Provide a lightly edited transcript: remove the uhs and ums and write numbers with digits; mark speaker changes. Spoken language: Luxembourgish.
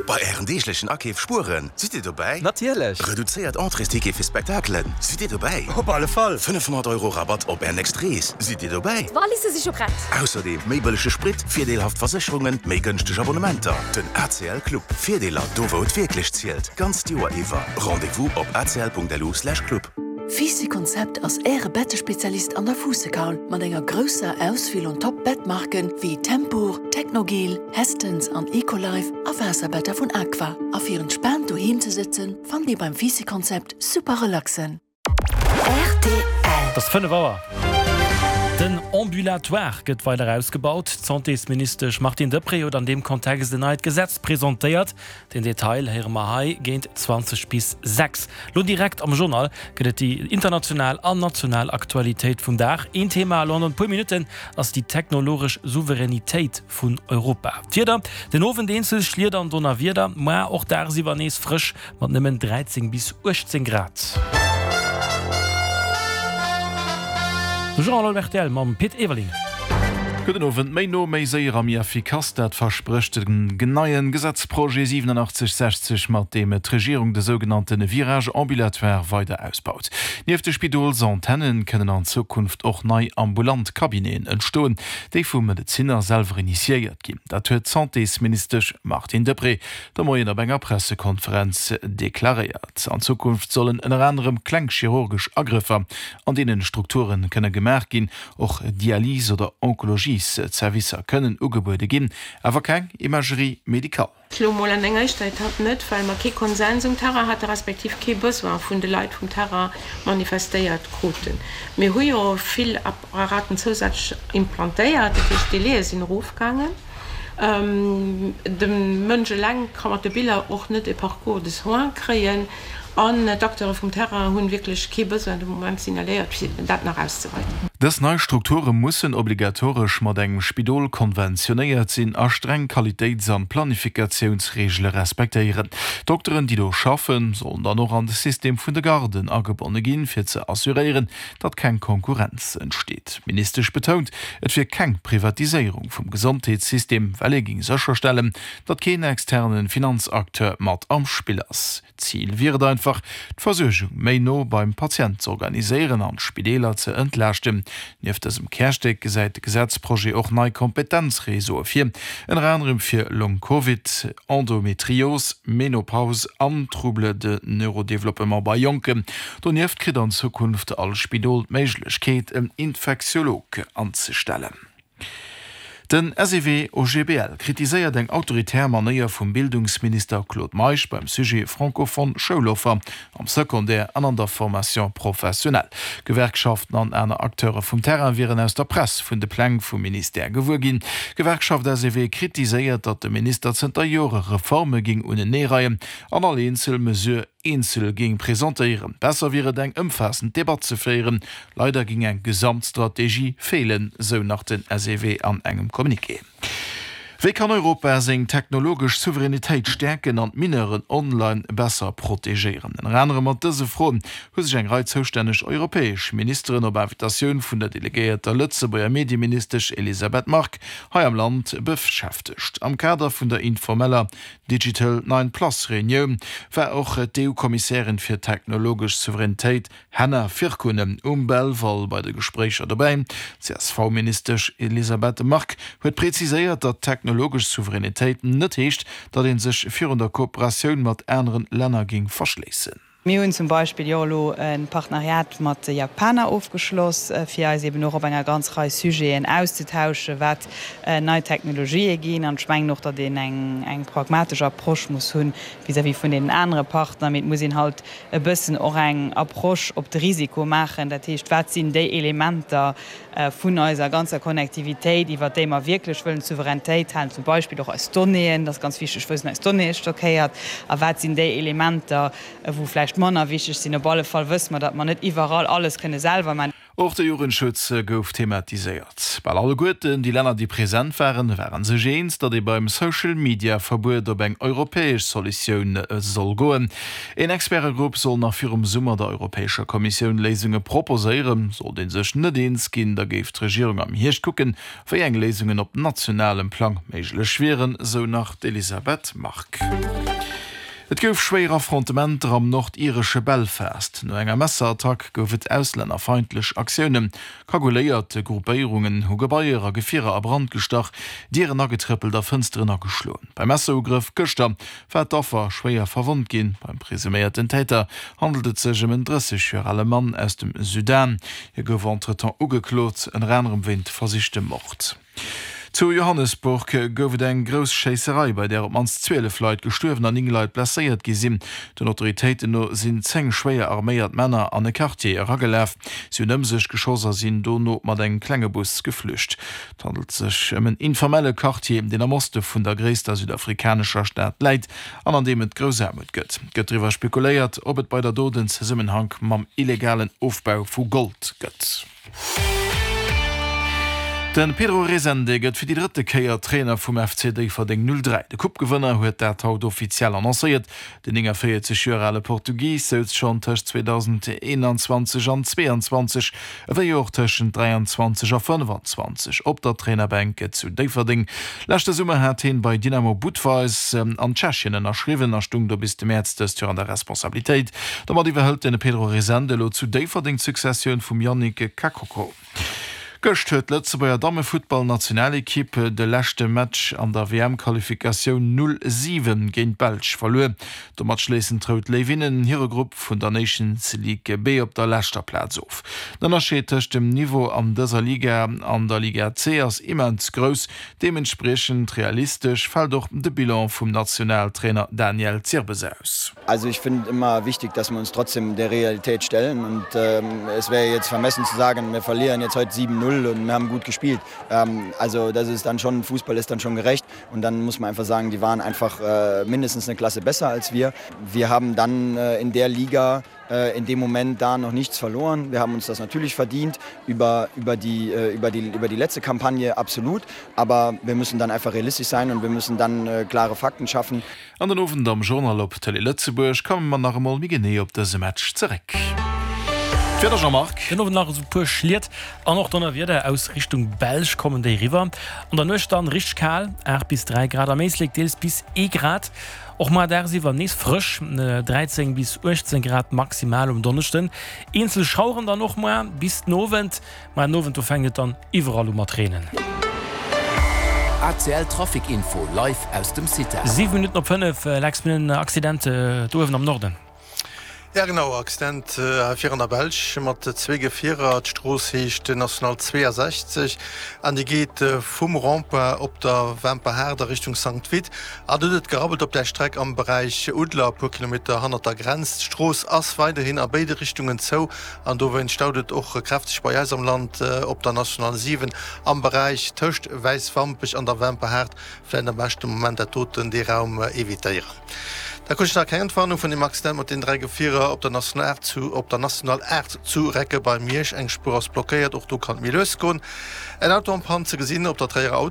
Speaker 1: Bei Ären deeglechen Akeef spueren, sidd Dir dobäi?
Speaker 2: Natierlech!
Speaker 1: Reduzéiert Entréesticket fir Spektakelen, sidd Dir dobäi?
Speaker 2: Op alle Fall!
Speaker 1: 500 Euro Rabatt op Är nächst Rees, sidd Dir dobäi?
Speaker 3: D'Walisse si scho prett!
Speaker 1: Ausserdeem méi bëllege Sprit, virdeelhaft Versécherungen, méi gënschteg Abonnementer. Den ACL Club, Virdeeler do wou et wierklech zielt, d'ganzt Joer iwwer. Rendez-vous op acl.lu/club.
Speaker 4: Fisi Konzept ass Äre Bettespezialist an der Fuussekaul mat enger grousser Auswiel un Top Bettmarken wéi Tempur, Technogel, Hästens an Ecolife a Waasserbetter vun Aqua. A fir entspaant doheem ze sëtzen, fannt Dir beim Fisi Konzept super relaxen.
Speaker 5: Rtl. Et ass 5 Auer. Den Ambulatoire gëtt weider ausgebaut. D'Santésministesch Martine Deprez huet an deem Kontext en neit Gesetz presentéiert. Den Detail héiere mer hei géint 20 bis 6. Lo direkt am Journal gëtt et déi international an national Aktualitéit vum Dag. Een Thema elo an e puer Minutten ass déi technologesch Souveränitéit vun Europa. D'Wieder, Den Owend eenzel Schlieder an Donnerwieder, moar och dagsiwwer nees frësch mat nëmmen 13 bis 18 Grad. De Journal op rtl mam Pit Everling.
Speaker 6: Gudden Owend. Méi no, méi séier a méi effikass, dat versprécht den neien Gesetzprojet 8760, mat deem d'Regierung de sougenannte Virage ambulatoire weider ausbaut. Nieft de Spidolsantennen kënnen an Zukunft och nei ambulant Cabineten entstoen, déi vu Medezinner selwer initiéiert ginn. Dat huet d'Santésministesch Martine Deprez de Moien op enger Pressekonferenz deklaréiert. An Zukunft sollen ënner anerem kleng chirurgesch Agrëffer an deenen Strukture kënne gemaach ginn, Och Dialys oder Onkologies-Zerwisser kënnen ugebuede ginn, awer keng Imagerie médicale.
Speaker 7: Elo mol an enger éischter Etapp net, well mer kee Konsens um Terrain hate respektiv kee Besoin vun de Leit vum Terrain manifestéiert kruten. Mir hu jo vill Apparaten zousätzlech implantéiert, dat heescht d'Délaië sinn erofgaangen. De Mënsch eleng ka mat de Biller och net e Parcours de soins kréien. An d'Acteure vum Terrain hunn wierklech kee Besoin de Moment signaléiert, fir dat nach auszeweiten.
Speaker 6: Dës nei Strukture mussen obligatoresch mat engem Spidol konventionéiert sinn a streng Qualitéits an Planifikatiounsreegele respektéieren. D'Dokteren, déi do schaffen, sollen dann och an de System vun de Garden agebonne ginn, fir ze assuréieren, datt keng Konkurrenz entsteet. D'Ministesch betount, et wier keng Privatiséierung vum Gesondheetssystem, well ee géing sécherstellen, datt keen externe Finanzacteur mat am Spill ass. Zil wier et einfach, d'Versuergung méi no beim Patient z'organiséieren an d'Spideeler ze entlaaschten. Nieft dësem Kärstéck gesäit de Gesetzprojet och nei Kompetenzreseaue vir, ënner anerem fir Long-Covid, Endometrios, Menopause an Troubles de neurodéveloppement bei Jonken. Donieft kritt an Zukunft all Spidol d'Méiglechkeet, en Infektiolog anzestellen. Den SEW-OGBL kritiséiert eng autoritär Manéier vum Bildungsminister Claude Meisch beim Sujet francophone Schouloffer am Secondaire an an der Formation professionnelle. Gewerkschaften an aner Acteure vum Terrain wieren aus der Press vun de Pläng vum Ministère gewuer ginn. D'Gewerkschaft SEW kritiséiert, datt de Minister zënter Jore Reforme géing uneneereien an all eenzel Mesure eenzel géing presentéieren. Besser wier et eng ëmfaassend Debatt ze féieren. Leider géing eng Gesamtstrategie feelen, sou nach den SEW an engem Communiqué. Wéi kann Europa seng technologesch Souveränitéit stäerken an d'Mineuren online besser protegéieren? Ënner anerem mat dëse Froen hu sech eng Rei zoustänneg europäesch Ministeren op Invitatioun vun der delegéierter Lëtzebuerger Medieministesch Elisabeth Margue hei am Land beschäftegt. Am Kader vun der informeller Digital 9 Plus Reunioun war och d'EU-Kommissärin fir technologesch Souveränitéit Henna Virkkunen um Belval bei de Gespréicher dobäi. D'CSV-Ministesch Elisabeth Margue huet preziséiert, datt technologesch Souveränitéit net heescht, datt ee sech virun der Kooperatioun mat aneren Länner géing verschléissen.
Speaker 8: Mir hunn zum Beispill jo elo e Partenariat mat de Japaner ofgeschloss, fir eis eben och op enger ganz Rei Sujeten auszetauschen, wat nei Technologië ginn. An ech mengen och, datt een eng pragmatesch Approche muss hu vis-à-vis vun deenen anere Partner. Mee et muss een halt e bëssen och eng Approche op de Risiko maachen. Dat heescht, wat sinn déi Elementer, vun eiser ganzer Connectivitéit, iwwert déi mer wierklech wëllen d'Souverainetéit halen, zum Beispill och eis Donnéeën, dat ass ganz wichteg, wou sinn eis Donnéeë stockéiert a wat sinn déi Elementer, wou vläicht manner wichteg sinn. Op alle Fall wësse mer, datt mer net iwwerall alles kënne selwer maachen.
Speaker 6: Och de Jugendschutz gouf thematiséiert. Bal alleguerten déi Länner, déi present waren, ware sech eens, datt ee beim Social-Media-Verbuet op eng europäesch Solutioun soll goen. Een Expertegrupp soll nach virum Summer der Europäescher Kommissioun Léisunge proposéieren. Sollt ee sech net eens ginn, da géif d'Regierung am Hierscht kucken, wéi eng Léisungen op nationalem Plang méiglech wieren, sou nach d'Elisabeth Margue. Et gouf schwéier Affrontementer am nordiresche Belfast. No enger Messerattack gouf et auslännerfeindlech Aktiounen. Kagouléiert Gruppéierungen hu Gebaier a Gefierer a Brand gestach, Dieren agetrëppelt a Fënsteren ageschloen. Beim Messerugrëff gëschter war d'Affer schwéier verwonnt ginn. Beim presuméierten Täter handelt et sech ëm en 30 Joer ale Mann aus dem Sudan. Hie gouf entretemps ugeklot, ënner anerem wéint versichtem Mord. Zu Johannesburg gouf et eng grouss Schéisserei, bei där op d'mannst 12 Leit gestuerwen an 9 Leit blesséiert gi sinn. Den Autoritéiten no sinn 10 schwéier arméiert Männer an e Quartier eragelaf. Si hunn ëm sech geschoss a sinn dono mat engem klenge Bus geflücht. Et handelt sech ëm en informelle Quartier, deen am Oste vun der gréisster südafrikanescher Stad läit an an deem et grouss Aarmut gëtt. Et gëtt driwwer spekuléiert, ob et bei der Dot en Zesummenhank mam illegalen Ofbau vu Gold gëtt. De Pedro Resende gëtt fir déi drëtte Kéier Trainer vum FC Déifferdeng 03. De Coupe-Gewënner huet dat haut offiziell annoncéiert. Den 49 Joer ale Portugis souz schonn tëscht 2021 an 22, ewéi och tëschent 23 a 25 op der Trainerbänk zu Déifferdeng. Leschte Summer hat hien bei Dynamo Budweis an Tschechien ënnerschriwwen a stung do bis de Mäerz dëst Joer an der Responsabilitéit. Domat iwwerhëlt de Pedro Resende elo zu Déifferdeng d'Successioun vum Yannick Kakoko. Gëscht huet d'Lëtzebuerger Dammefuttballnationalekipp de leschte Match an der WM-Qualifikatioun 0, 7 géint d'Belsch verluer. Domat schléissen d'Rout Léiwinnen hire Grupp vun der Nations League B op der leschter Plaz of. Den Ënnerscheed tëscht dem Niveau an dëser Liga an der Liga C ass immens grouss. Deementspriechend realistesch fält och de Bilan vum Nationaltrainer Daniel Zirbes aus.
Speaker 2: Also ich finde immer wichtig, dass wir uns trotzdem der Realität stellen und ähm, es wäre jetzt vermessen zu sagen, wir verlieren jetzt heute 7-0 und wir haben gut gespielt. Ähm, also das ist dann schon Fußball ist dann schon gerecht und dann muss man einfach sagen, die waren einfach äh, mindestens eine Klasse besser als wir. Wir haben dann äh, in der Liga äh, in dem Moment da noch nichts verloren. Wir haben uns das natürlich verdient über, über, die, äh, über, die, über die letzte Kampagne absolut, aber wir müssen dann einfach realistisch sein und wir müssen dann äh, klare Fakten schaffen.
Speaker 6: An den Owend am Journal op Télé Lëtzebuerg komme mer nach emol méi genee op dëse Match zeréck. D'Wieder, Jean-Marc.
Speaker 5: Den Owend nach esou puer Schliet an och Donnerwieder aus Richtung Belsch kommen déi eriwwer. An der Nuecht dann richteg kal, 8 bis 3 Grad, am Éislek deels bis ee Grad. Och muar dagsiwwer nees frësch, 13 bis 18 Grad maximal um Donneschden. Eenzel Schaueren dann och muar bis den Owend. Muar den Owend do fänkt et dann iwwerall u mat reenen.
Speaker 1: ACL Trafic Info live aus dem CITAR.
Speaker 5: 7 Minutten op 5, Lex, mir hunn en Accident do uewen am Norden.
Speaker 3: Ja genau, Accident hei vir an der Belsch mat zwee Gefierer. D'Strooss heescht National 62 an déi geet vum Rond-point op der Wemperhaart a Richtung Sankt Vith. An do huet et gerabbelt op där Streck am Beräich Udler, e puer Kilometer hannert der Grenz. D'Strooss ass weiderhin a béide Richtungen zou an dowéinst staut et och kräfteg bei eis am Land op der National 7 am Beräich tëscht Wäiswampech an der Wemperhaart. Vläicht am beschten Moment dat doten, dee Raum evitéieren. Da krut ech nach keng Entwarnung vun deem Accident mat den 3 Gefierer op der National 8 zu op der National 8 zu Recke bei Miersch. Eng Spuer ass blockéiert, och do kann et méi lues goen. En Auto en panne ze gesinn op der Tréierer.